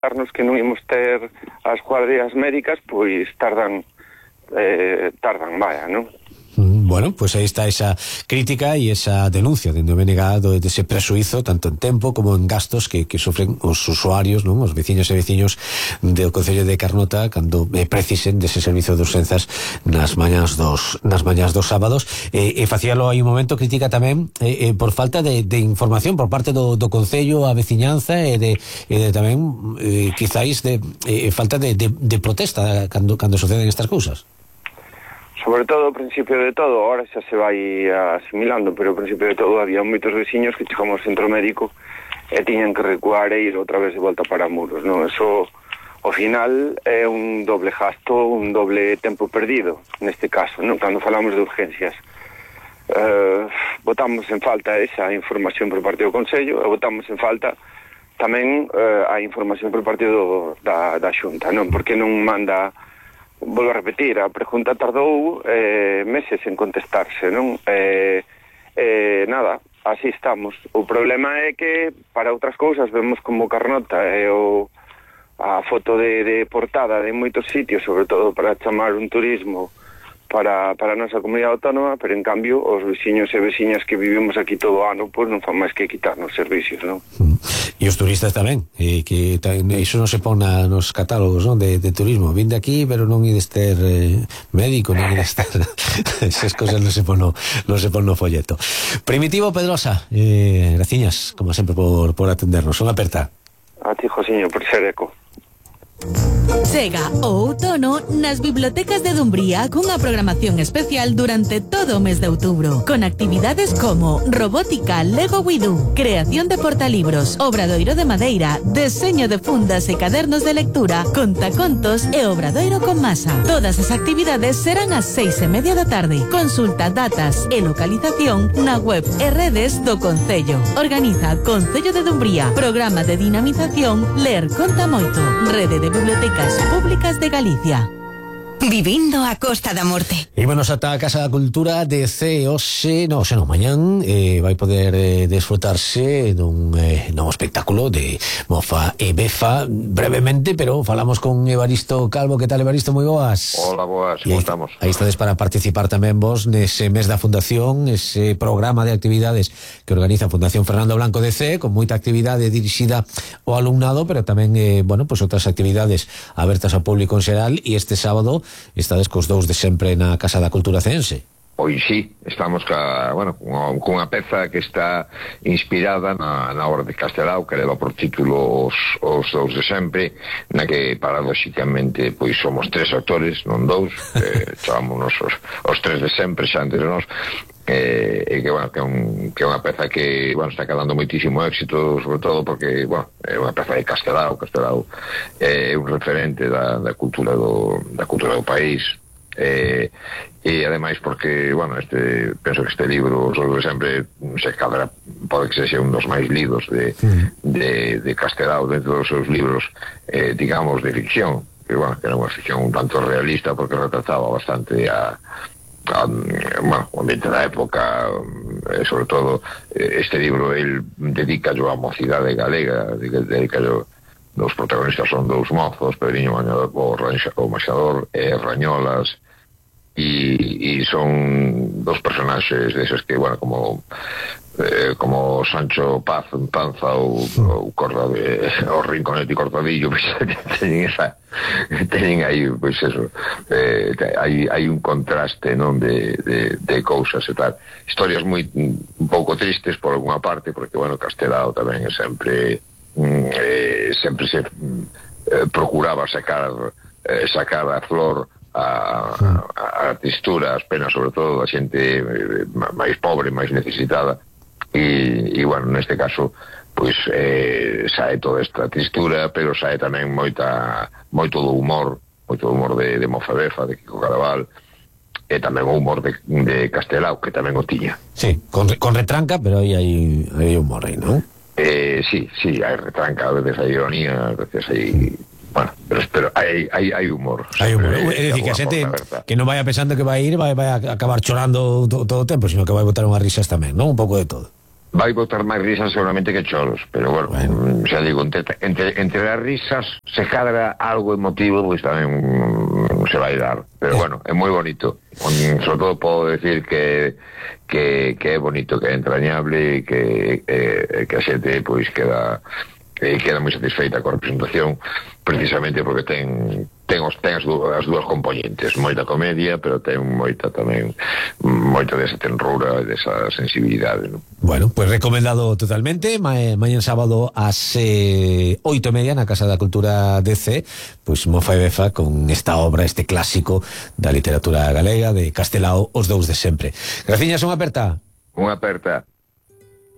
darnos que non imos ter as guardias médicas, pois tardan, vaya, non? Bueno, pues aí está esa crítica e esa denuncia dende o BNG de ese presuízo tanto en tempo como en gastos que sofren os usuarios, non? Os veciños e veciños do Concello de Carnota cando precisen dese servizo de urxenzas nas mañás dos sábados. Facíalo aí un momento, crítica tamén por falta de información por parte do Concello, a veciñanza e de tamén quizáis de falta de protesta cando suceden estas cousas. Sobre todo, ao principio de todo, ahora xa se vai asimilando, pero ao principio de todo había moitos veciños que chegamos ao centro médico e tiñan que recuar e ir outra vez de volta para Muros, non? Eso, ao final, é un doble gasto, un doble tempo perdido, neste caso, non? Cando falamos de urgencias. Botamos en falta esa información por parte do Concello e botamos en falta tamén a información por parte da Xunta, non? Porque non manda... Volvo a repetir, a pregunta tardou meses en contestarse, non? Nada, así estamos. O problema é que para outras cousas vemos como Carnota a foto de portada de moitos sitios, sobre todo para chamar un turismo para a nosa comunidade autónoma, pero en cambio os veciños e veciñas que vivimos aquí todo o ano pois non fan máis que quitarnos servicios, non? E os turistas tamén, que iso non se pon nos catálogos, non, de turismo. Vinde aquí, pero non ides ter médico, non ides ter esas cosas non se pon no folleto. Primitivo Pedrosa, graciñas, como sempre, por atendernos. Unha aperta. A ti, Josiño, por ser eco. Chega o outono nas bibliotecas de Dumbría cunha programación especial durante todo o mes de outubro, con actividades como robótica Lego Widú, creación de portalibros, obradoiro de madeira, deseño de fundas e cadernos de lectura, contacontos e obradoiro con masa. Todas as actividades serán ás 6:30 da tarde. Consulta datas e localización na web e redes do Concello. Organiza Concello de Dumbría. Programa de dinamización Ler Conta Moito. Rede de Bibliotecas Públicas de Galicia. Vivindo a Costa da Morte. Ímonos ata a Casa da Cultura de mañán vai poder desfrutarse dun novo espectáculo de Mofa e Befa, brevemente, pero falamos con Evaristo Calvo. Que tal, Evaristo? Moi boas. Hola, boas, como estamos? Aí estades para participar tamén vos nese mes da Fundación, ese programa de actividades que organiza a Fundación Fernando Blanco DC, con moita actividade dirixida ao alumnado, pero tamén, pues outras actividades abertas ao público en xeral, e este sábado estades cos dous de sempre na Casa da Cultura ceense. Pois sí, estamos cunha peza que está inspirada na obra de Castelao, que leva por título os dous de sempre, na que paradóxicamente pois somos tres actores, non dous, chamámonos os tres de sempre xa entre nós, e que é unha peza que está calando moitísimo éxito, sobre todo porque é unha peza de Castelao é un referente da cultura do país, e ademais porque penso que este libro sobre sempre se cadra, pode que sexa un dos máis lidos de Castelao dentro dos seus libros, digamos, de ficción, que era unha ficción un tanto realista porque retrataba bastante o ambiente da época, sobre todo este libro el dedica a mocidade galega, os protagonistas son dous mozos, Pedriño o Maxador e Rañolas, e son dos personaxes deses que, como Sancho Panza ou o Rinconete e Cortadillo, pues, teñen aí, pois eso, hai un contraste, non, de cousas e tal, historias moi un pouco tristes por alguna parte, porque, Castelao tamén é sempre se procuraba sacar a flor a textura, as penas, sobre todo da xente máis pobre, máis necesitada, e neste caso pois sae toda esta textura, pero sae tamén moito do humor de Mofa Befa, de Kiko Caraval, e tamén o humor de Castelao, que tamén o tiña. Sí, con retranca, pero aí hai humor aí, non? Sí, hai retranca, a veces hai ironía, a veces hai... pero hai humor. Hai humor. É dicir, que a xente que non vai pensando que vai ir, vai a acabar chorando todo o tempo, sino que vai botar unhas risas tamén, non? Un pouco de todo. vai botar máis risas seguramente que choros, pero bueno, xa digo, entre as risas se cadra algo emotivo, pois tamén se vai dar, pero bueno, é moi bonito. Sobre todo podo decir que é bonito, que é entrañable, que a xente pois queda moi satisfeita coa representación, precisamente porque ten as dúas componentes, moita comedia, pero ten moita desa tenrura e desa sensibilidade, non? Bueno, pues recomendado totalmente. Mañana sábado ás 8:30 na Casa da Cultura DC, pues Mofa e Befa con esta obra, este clásico da literatura galega de Castelao, Os Dous de Sempre. Graciñas, unha aperta. Unha aperta.